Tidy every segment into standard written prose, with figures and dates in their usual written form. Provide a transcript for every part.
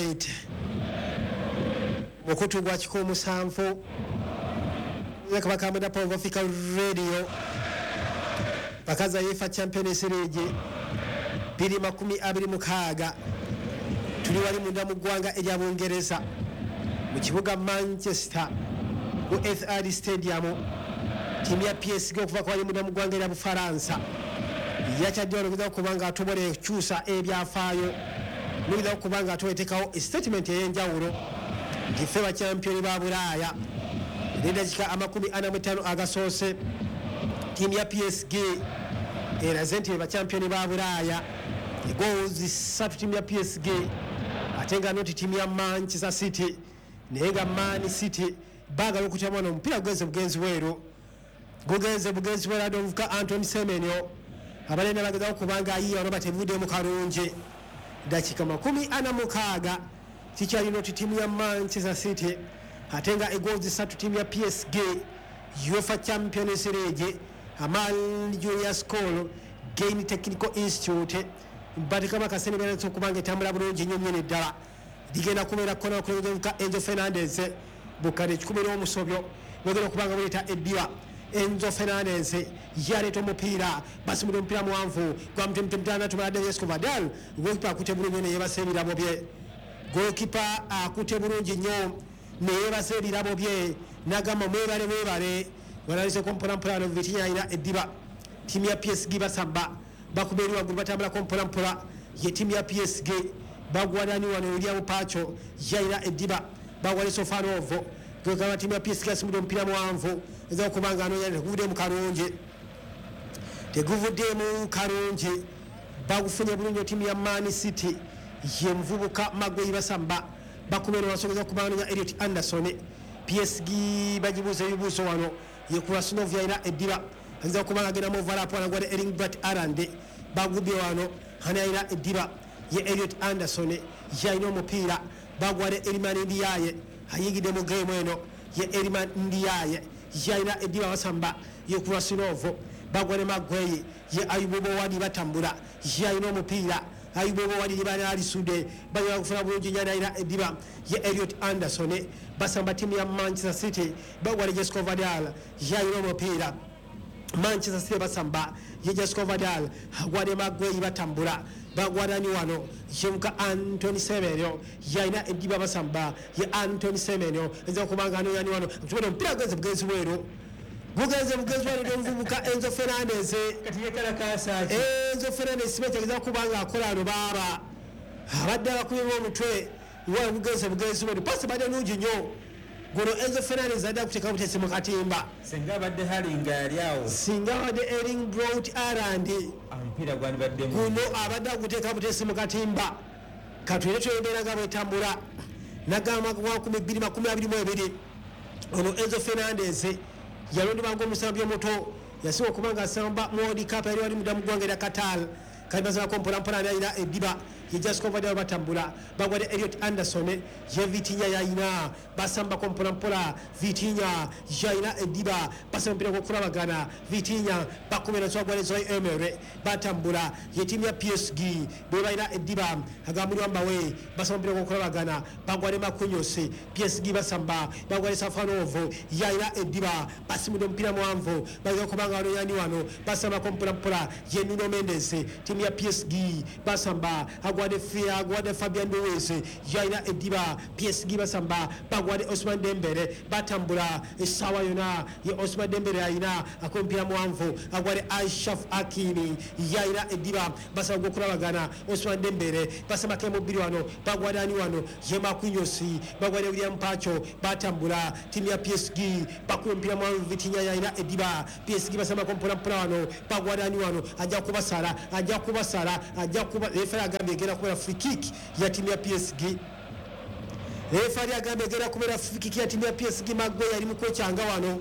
Alright, mukutu gwa 17 Kabaka Mwenda Power of Africa Radio, paka za UEFA Champions League 2026. Tuli wali munda mu ggwanga erya Bungereza, mu kibuga Manchester, ku Etihad Stadium. Tiimu ya PSG okuva ku wali munda mu ggwanga erya Bufaransa yakyadde wano okugeza okuba nga atobola ekyusa ebyafaayo nogeza okuba nga atoletekawo statement ey'enjawulo nti ffe bachampiyoni ba Bulaaya. Nedakika 45 agasoose, tiimu ya PSG eraze nti be bachampiyoni ba Bulaaya. Goals 3 tiimu ya PSG, ate nga noti tiimu ya Manchester City. Naye nga Man City baagala okutya mwana omupiira gugenze bugenzi bweru, gugenze bugenzi bweru. Ade omuvuka Anton Semenyo abalenda bagezaho kubanga ayiya wano batevuddemu kalungi. Dakika 46, kikyali noti tiimu ya Manchester City, ate nga egoals 3 tiimu ya PSG. UEFA Champions League, Amal Junior School Gain Technical Institute batekamu akasente beranisa okuba nga etambula bulungi nnyo nnyini ddala. Ligenda kubeera kona okulengeza Enzo Fernandez bukadde 100 n'omusobyo bwegenda okuba nga buleeta eddiba. Enzo Fernandez yaleeta omupiira, basimudde omupiira muwanvu gwa mutemutemu tumala Josko Gvardiol. Goalkeeper akutte bulungi nnyo neyebasa ebirabo bye. Goalkeeper akutte bulungi nnyo neyebasa ebirabo bye, nagamba mwebale, mwebale. Wanaliseko mpolampola wano. Vitinha alina eddiba. Tiimu ya PSG basamba, bakuba eri waggulu, batambulako mpolampola. Ye tiimu ya PSG bagwanani wano? William Pacho yalina eddiba, bagwane Safonov. Gwegamba tiimu ya PSG asimudde omupiira muwanvu eza okuba nga anoonya, teguvuddemu kalungi, teguvuddemu kalungi. Bagufunye bulungi tiimu ya Man City, ye muvubuka Maguire. Basamba, bakuba eno wasogeza okuba nga anoonya Elliot Anderson. PSG bagibuuza ebibuuzo wano. Ye Khusanov yalina eddiba, ayinza okuba nga agenda mu overlap anagwade Erling Braut Haaland. Bagubye wano. Hani alina eddiba? Ye Elliot Anderson yalina omupiira, bagwade Iliman Ndiaye, ayingidde mu game eno. Ye Iliman Ndiaye yalina eddiba, basamba. Ye Khusanov, bagwade Maguire. Ye Ayyoub Bouaddi, batambula, yalina omupiira Ayyoub Bouaddi, banalisude bagenda kufuna bulungi nyana. Alina eddiba ye Elliot Anderson. Basamba tiimu ya Manchester City, bagwade Josko Gvardiol, yalina omupiira. Manchester City basamba. Ye Josko Gvardiol agwade Maguire, batambula, bagwanani wano? Yemuka Antony Semenyo yalina eddiba, basamba. Ye Antony Semenyo eza okubanga anoyani wano? Tubona omupiira gugenze bugenzi bweru, gugenze bugenzi bweru. Omuvubuka Enzo Fernandez. Kati yekalakasa ki? Enzo Fernandez sibekyageza kuba nga akola ano. Baaba abadde abakubibwa omutwe wa gugenze bugenzi bweru. Pasi badde nungi nnyo. Guno Enzo Fernandez adde akuteeka butesi mu katimba. Singa abadde Haaland nga yali awo. Singa abadde Erling Braut Haaland, omupiira gwandibaddemu. Guno abadde aguteeka butesi mu katimba. Katwere twembeera nga bwetambula. Nagamba gwa 2022, ono Enzo Fernandez yalondebwa ngaomusambi omuto yasinga okuba nga asamba mu World Cup yali wali mudda mu ggwanga erya Qatar. Kali basalako mpolampola. Ani alina eddiba? Ye Josko Gvardiol, batambula, bagwadde Elliot Anderson. Ye Vitinha yayina, basambako mpolampola. Vitinha yayina eddiba, basamba omupiira gwokulabagana. Vitinha bakubera nswagwale Zaire Emery, batambula. Ye tiimu ya PSG bwe balina eddiba, agambulwa mbawe, basamba omupiira gwokulabagana, bagwale Marquinhos. PSG basamba, bagwale Safonov, yayina eddiba, basimudde omupiira muwanvu, bageza kubanga wano yani wano? Basambako mpolampola. Ye Nuno Mendes. Tiimu ya PSG basamba, agwade Fabian Ruiz, yayina eddiba. PSG basamba, bagwade Ousmane Dembele, batambula essaawa yona. Ye Ousmane Dembele ayina akomupiira muwanvu, agwade Achraf Hakimi, yayina eddiba, basaba gwokulabagana. Ousmane Dembele basambako emubiri wano, bagwade ani wano? Ye Marquinhos, bagwade William Pacho, batambula. Tiimu ya PSG bakuba omupiira muwanvu. Vitinha yayina eddiba. PSG basambako mpolampola wano, bagwade ani wano? Ajja kubasala, ajja kubasala, ajja kuba. Referee agambye egenda kubeera free kick ya tiimu ya PSG. Referee agambye egenda kubeera free kick ya tiimu ya PSG. Maguire ali mu kwekyanga wano,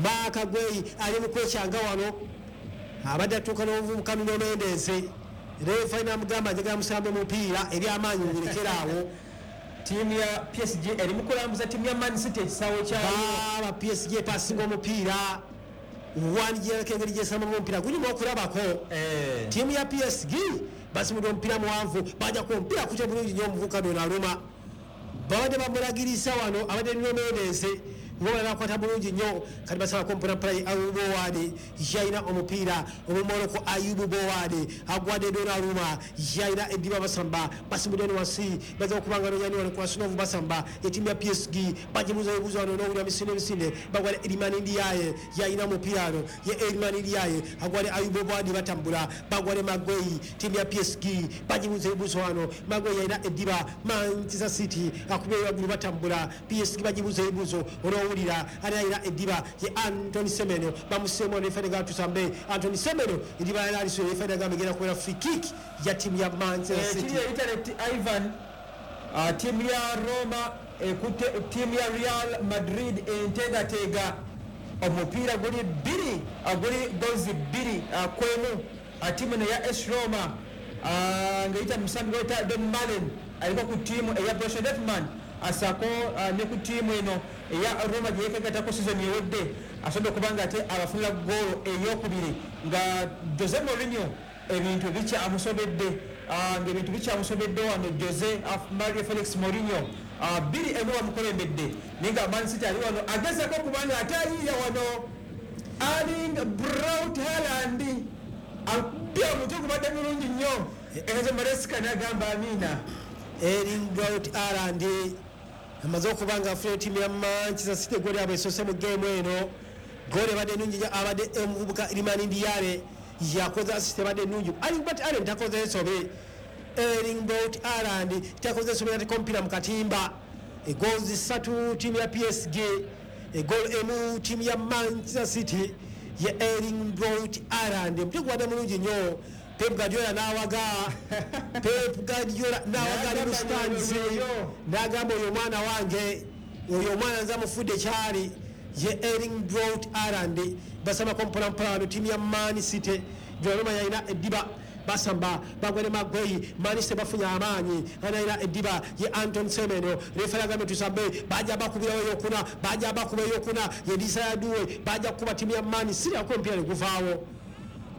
Marc Guehi ali mu kwekyanga wano, abadde atuuka n'omuvubuka Nuno Mendes. Referee namugamba, njagala musambe mupiira ebyamaanyi mubirekeraawo. Ttiimu ya PSG eri mu kulambuza ttiimu ya Man City ekisaawe kyayo. Baaba PSG epasinga omupiira wandigirako engeri gyesambamu omupiira gulimu okulabako. Ttiimu ya PSG Basimudde omupiira muwanvu, bajja ku omupiira kutya bulungi nnyo omuvubuka Donnarumma. Babadde bamulagirisa wano, abadde Nuno Mendes ngoba bakwata bulungi nnyo. Kati basabako mpolampola ye Ayub Bouaddi, yalina omupiira omumoloko. Ayub Bouaddi agwadde Donnarumma, yalina eddiba. Basamba, basimudde eno wansi, baza okubanga nonyani wano Khusanov. Basamba etimu ya PSG, bagibuuza ebibuuzo wano n'owulira misinde misinde. Bagwale Iliman Ndiaye, yalina omupiira wano ye Iliman Ndiaye, agwale Ayub Bouaddi. Batambula, bagwale Maguire. Timu ya PSG bagibuuza ebibuuzo wano. Maguire yalina eddiba. Manchester City akubeera waggulu. Batambula, PSG bagibuuza ebibuuzo olwowulira. Ali alina eddiba ye Antoine Semenyo, bamuseemu referee ga tusambe. Antoine Semenyo eddiba yali aliso, referee gamba egenda kubeera free kick ya timu ya Manchester City. Kiri internet Ivan, tiimu ya Roma ekutte tiimu ya Real Madrid entegateega. Omupiira guli 2, guli gozi 2-1. Tiimu eno ya AS Roma ng'eyita mu musambi gweta Don Malen, aliko ku ttiimu eya Borussia Dortmund, asaako ne ku ttiimu eno eya Roma gye yekegatako season ewedde, asobodde okuba nga ate abafunira goolo eyokubiri, nga Jose Mourinho ebintu bikyamusobedde, ng'ebintu bikyamusobedde wano. Jose Mario Felix Mourinho, 2-1 bamukulembedde, naye nga Man City ali wano agezako okuba nga ate ayiiya wano. Erling Braut Haaland akubye omutwe, gubadde mulungi nnyo. Enzo Maresca n'agamba amiina. Erling Braut Haaland amaze okuba nga afuna ttiimu ya Manchester City gooli yabwe esoose mu geemu eno. Gooli ebadde ennungi nnyo, abadde omuvubuka Iliman Ndiaye yakoze assist, ebadde ennungi. Erling Braut Haaland takoze ensobi. Erling Braut Haaland takoze ensobi, nateeka omupiira mu katimba. Egoals 3 ttiimu ya PSG, egoal 1 ttiimu ya Manchester City, ye Erling Braut Haaland. Omutwe gubadde mulungi nnyo. Pep Guardiola n'awaga, Pep Guardiola n'awaga ali mu stands, n'agamba, "Oyo omwana wange, oyo omwana nze amufudde kyali." Ye Erling Braut Haaland. Basambako mpolampola wano ttiimu ya Man City. Donnarumma yalina eddiba. Basamba, bagwere Maguire. Man City bafunye amaanyi. Analina eddiba ye Antoine Semenyo. Refa yagambye tusambe. Bajja bakubirawo eyokuna, bajja bakuba eyokuna, ye Desire Doue. Bajja kukuba ttiimu ya Man City, akuba omupiira ne guvaawo.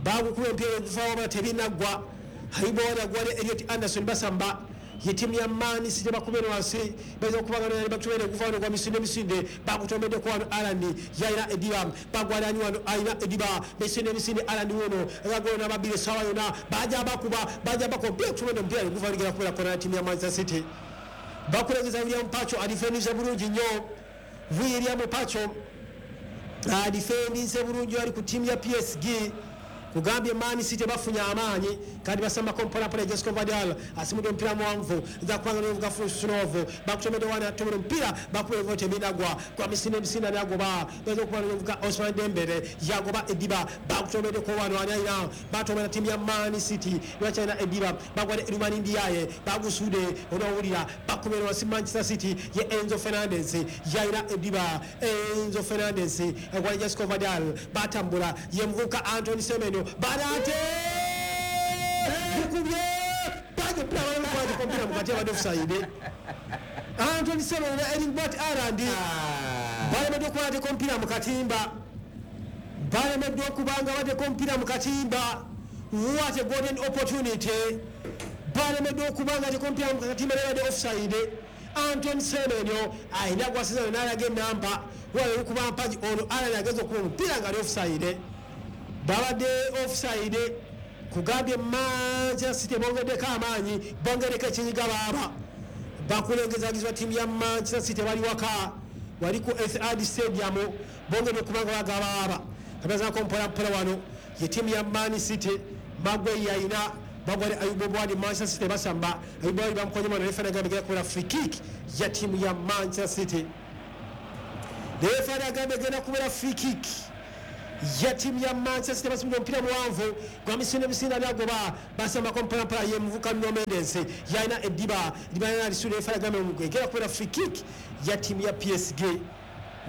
Bagukuba empiira neguvaawo, bala tebinaggwa. Haibowali agwale Elliot Anderson. Basamba ye ttiimu ya Man City, bakubye eno wansi, bayinza okubanga bakutobere guvaawo negwa misinde misinde. Bagutomeddeko wano. Haaland yalina eddiba. Bagwalani wano, alina eddiba, misinde misinde. Haaland wuno agagolo nababiri essaawa yonna. Bajja bakuba, bajja bakuba omupiira, kutomedde omupiira neguvaawo, ligenda kubeera kona ya ttiimu ya Manchester City. Bakulengeza William Pacho, adifendinze bulungi nnyo. William Pacho adifendinze bulungi, ali ku ttiimu ya PSG. Kugambye Man City bafunye amaanyi kandi basambako mpolampola. Josko Gvardiol asimudde omupiira muwanvu, nza kubanga novuga Khusanov. Bakutomedde wana, atomera omupiira, bakuba evo, tebinagwa kwa misinde misinde. Nagoba bayinza okuba novuga Ousmane Dembele, yagoba eddiba. Bakutomeddeko wano, ani alina? Batomera ttiimu ya Man City, lwakyalina eddiba. Bagwale Iliman Ndiaye, bagusude, onawulira bakubera wansi. Manchester City, ye Enzo Fernandez yalina eddiba. Enzo Fernandez agwale Josko Gvardiol. Batambula, ye muvubuka Antoine Semenyo. Barate gukubye omupiira mukati, abadde offside. Antoine Semenyo ne Erling Braut Haaland balemeddwa okuba bateeka omupiira mu katimba, balemeddwa okuba nga bateeka omupiira mu katimba. What a golden opportunity! Balemeddwa okuba nga bateeka omupiira mu katimba, nebadde offside. Antoine Semenyo alina gwasiza n'alaga enamba wala olukuba mpagi. Ono Haaland ageza okuba omupiira nga ali offside, babadde offside. Kugambye Manchester City bongeddeko amaanyi, bongeddeko ekinyiga baaba. Bakulengezagizwa ttiimu ya Manchester City, bali waka wali ku Etihad Stadium, bongedde okubanga bagaba baaba. Kabazako mpolampola wano ye ttiimu ya Man City. Maguire yayina, bagwale Ayub Bouaddi. Manchester City basamba, Ayub Bouaddi bamukonye mwana. Refa agambye egenda kubeera free kick ya ttiimu ya Manchester City. Refa agambye egenda kubeera free kick ya ttiimu ya Manchester City. Basimudde omupiira muwanvu gwa misinde misinde, ani agoba? Basambako mpolampola, ye muvuka Nuno Mendes yalina eddiba. Eddiba yalina lisuula. Refa agambye egenda kubeera free kick ya ttiimu ya PSG.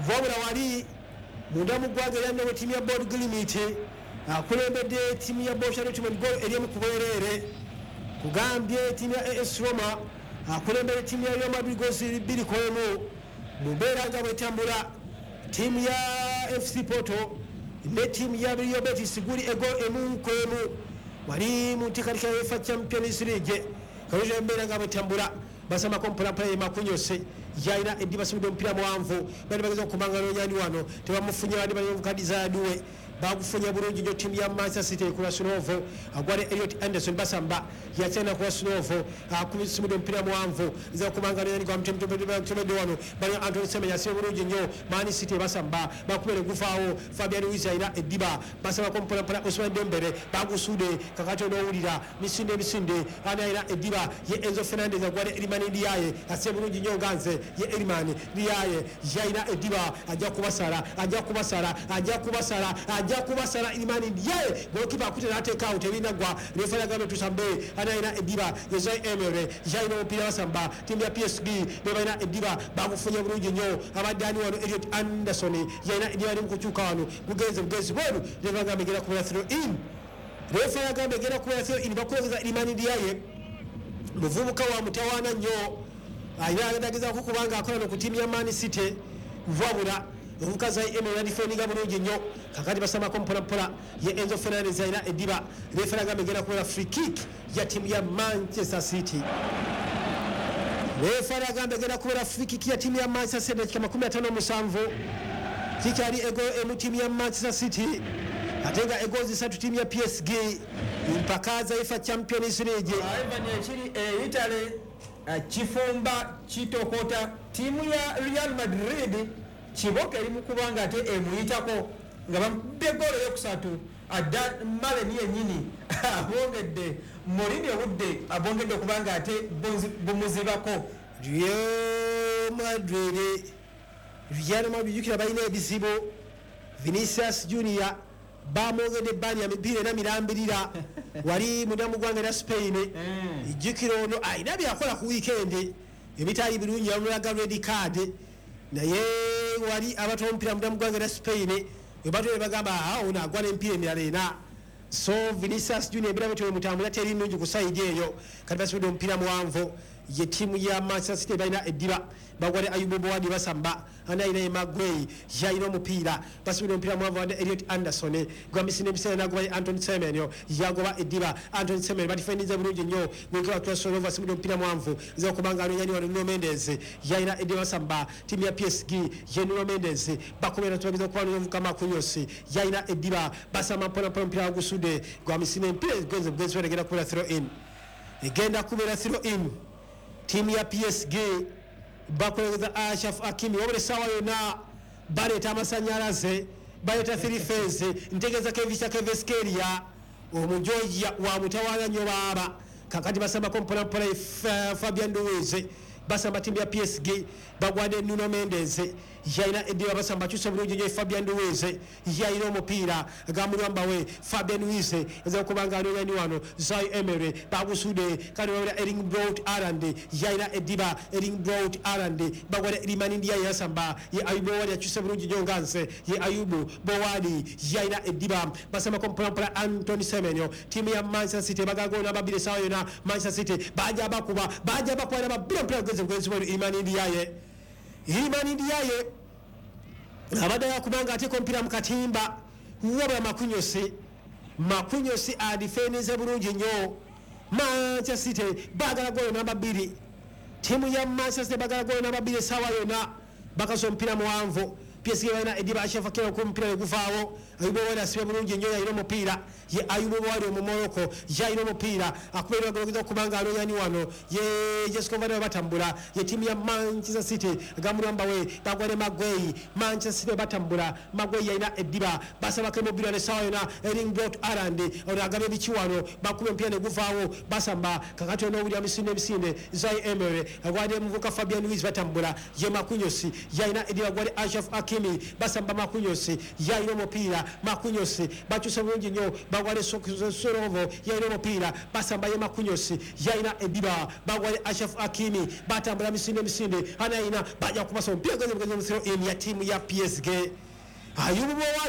Wabula wali munda mu ggwanga erya Norway, ttiimu ya Bodo Glimt akulembedde ttiimu ya Borussia Dortmund goal eri ku bwereere. Kugambye ttiimu ya AS Roma akulembedde ttiimu ya Real Madrid goals 2-1. Mu mbeera nga bwetambula, ttiimu ya FC Porto ne ttiimu ya Real Betis guli ego 1-1. Wali mu nteekateeka ya UEFA Champions League. Kalungi embeera nga bwetambula, basamako mpolampola. Ye Marquinhos yalina eddiba, basumidde omupiira muwanvu, bali bageza okumanga nonyani wano, tebamufunye. Bandi balivukadizaduwe bagufunye bulungi nnyo. Ttiimu ya Manchester City Krasnov agwale Elliot Anderson, basamba yakyana. Krasnov akusumidde omupiira muwanvu, nza kubanga nonyani gwamutemedde wano, bali Antony Semenyo asibe bulungi nnyo. Man City basamba, bakubere guvaawo. Fabian Ruiz alina eddiba, basabako mpolampola. Ousmane Dembele bagusude. Kakati onoowulira misinde emisinde. Ani alina eddiba? Ye Enzo Fernandez agwale Iliman Ndiaye, asibe bulungi nnyo nganze. Ye Iliman Ndiaye yalina eddiba, ajja kubasala, ajja kubasala, ajja kubasala, ajja kubasala. Iliman Ndiaye, golokipa akute n'ateekaawo, tebinagwa. Refa yagambye tusambe. Ani alina eddiba? Ye Zaire Emery yalina omupiira, basamba ttiimu ya PSG be balina eddiba, bagufunye bulungi nnyo. Abadde ani wano? Elliot Anderson yalina eddiba, ali mu kukyuka wano, bugenze bugenzi bweru. Refa yagambye egenda kubeera throw in. Refa yagambye egenda kubeera throw in. Bakwogeza Iliman Ndiaye, muvubuka wa mutawaana nnyo, alina agezaako kubanga akola no ku ttiimu ya Man City, wabula omuvubuka Zaire Emery yadifendinga bulungi nnyo. Kakati basamako mpolampola. Ye Enzo Fernandez alina eddiba. Refa yagambye egenda kubeera free kick ya ttiimu ya Manchester City. Refa yagambye egenda kubeera free kick ya ttiimu ya Manchester City. Dakika 57, kikyali ego emu ttiimu ya Manchester City, ate nga egozi 3 ttiimu ya PSG, mpaka za UEFA Champions League. Ivan, ekiri e Italy kifumba kitokota. Ttiimu ya Real Madrid kiboka eri mu kuba nga ate emuyitako nga bamukubye goolo eyokusatu. Adda Malen yennyini abongedde Mourinho obudde, abongedde okuba nga ate bumuzibako. Real Madrid, Real Madrid, jjukira balina ebizibu. Vinicius Junior bamwongedde ebbani ya mipiira era mirambirira wali munda mu ggwanga erya Spain. Jjukira ono alina byakola ku wiikendi ebitali birungi, bamulaga red card, naye wali abatwala omupiira munda mu ggwanga erya Spain webatole bagamba, "Ah, ono agwa n'emipiira emirala ena." So Vinicius Junior embeera bwetyo bwemutambula teri nnungi ku side eyo. Kati basibidde omupiira muwanvu, ye ttiimu ya Manchester City balina eddiba, bagwale Ayubu Bouaddi, basamba. Ani alina? Ye Magwey yalina omupiira, basibidde omupiira muwanvu wadde Elliot Anderson gwamisinde ebiseera nagoba. Ye Antony Semenyo yagoba eddiba. Antony Semenyo badifendinze bulungi nnyo. Gwekiba Krasnov asibidde omupiira muwanvu, nza okubanga anonyani wano. Nuno Mendes yalina eddiba, basamba ttiimu ya PSG. Ye Nuno Mendes bakomera, tubageza okuba nomuvuka. Marquinhos yalina eddiba, basamba mpolampola, omupiira gusudde gwamisinde empiira genze bugenzi, egenda kubeera throw in, egenda kubeera throw in. Ttiimu ya PSG bakoleza Achraf Hakimi, wabula essaawa yonna baleeta amasanyalaze, baleeta three phase. Ntegeeza Khvicha Kvaratskhelia, omujoja wa mutawaana nnyo baaba. Kakati basambako mpolampola. Fabian Ruiz, basamba ttiimu ya PSG, bagwadde Nuno Mendes yalina eddiba, basamba, akyusa bulungi nnyo. Fabian Ruiz yalina omupiira gamulwambawe. Fabian Ruiz eza okuba nga anonyani wano. Zaire Emery bagusude. Kandi babira Erling Braut Haaland yalina eddiba. Erling Braut Haaland bagwadde Iliman Ndiaye, yasamba. Ye Ayubu Bouaddi akyusa bulungi nnyo nganze. Ye Ayubu Bouaddi yalina eddiba, basambako mpolampola. Antony Semenyo, ttiimu ya Manchester City bagagoona babiri essaawa yonna. Manchester City baja bakuba, baja bakuba era babiri, omupiira gugenze bugenzi bweru. Iliman Ndiaye, Iliman Ndiaye abadde yakubanga ateeka omupiira mu katimba, wabula Marquinhos, Marquinhos adifendinze bulungi nnyo. Manchester City baagala goolo namba 2. Ttiimu ya Manchester City baagala goolo namba 2 essaawa yonna. Bakasa omupiira muwanvu, PSG balina eddiba. Achraf Hakimi ku omupiira neguvaawo. Ayubu Bouaddi asibe bulungi nnyo, yalina omupiira. Ye Ayubu Bouaddi omumoroko yalina omupiira, akubeera bageza okubanga anonyani wano. Ye Josko Gvardiol, batambula. Ye ttiimu ya Manchester City gamulwambawe, bagwale Magwey. Manchester City batambula, Magwey yalina eddiba, basabako emipiira n'essaawa yonna. Erling Braut Haaland ono agaba ebiki wano, bakuba omupiira neguvaawo, basamba. Kakati onoowulira misinde emisinde. Zaire Emery agwadde muvuka Fabian Ruiz, batambula. Ye Marquinhos yalina eddiba, gwali Achraf Hakimi, basamba. Marquinhos yalina omupiira, Marquinhos bakyusa bulungi nnyo, bagwale Sorovo yalina omupiira, basamba. Ye Marquinhos yalina eddiba, bagwale Achraf Hakimi, batambula misinde emisinde. Ana yalina, bajja kubasa omupiira genze bugenzi mu throw in ya ttiimu ya PSG. Ayubu Bouaddi.